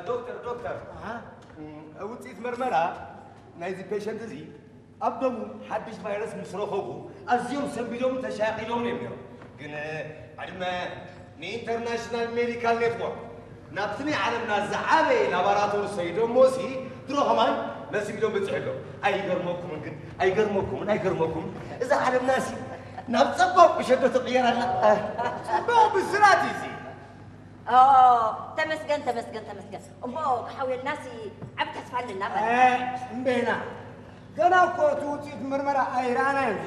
ዶክተር ዶክተር፣ ውፅኢት መርመራ ናይዚ ፔሸንት እዚ ኣብ ደሙ ሓድሽ ቫይረስ ምስ ረኸቡ ኣዝዮም ሰንቢዶም ተሻቂሎም እዮም ነይሮም። ግን ዕድመ ንኢንተርናሽናል ሜዲካል ኔትወርክ ናብቲ ናይ ዓለምና ዝዓበየ ላባራቶሪ ሰይዶሞ ሲ ድሮ ከማን መሲቢዶም በፂሑ ኣሎ። ኣይገርመኩምን ግን ኣይገርመኩምን ኣይገርመኩምን፣ እዛ ዓለምና ሲ ናብ ፀባብ ቁሸዶ ትቕየር ኣላ። ፅባብ ብስራት እዩ እዚ። ተመስገን ተመስገን ተመስገን። እሞ ክሓውየልና ሲ ዓብ ተስፋ ኣለና ማለት እዩ። እምበይና ገና እኮ እቲ ውፅኢት ምርመራ ኣይረኣናዮን።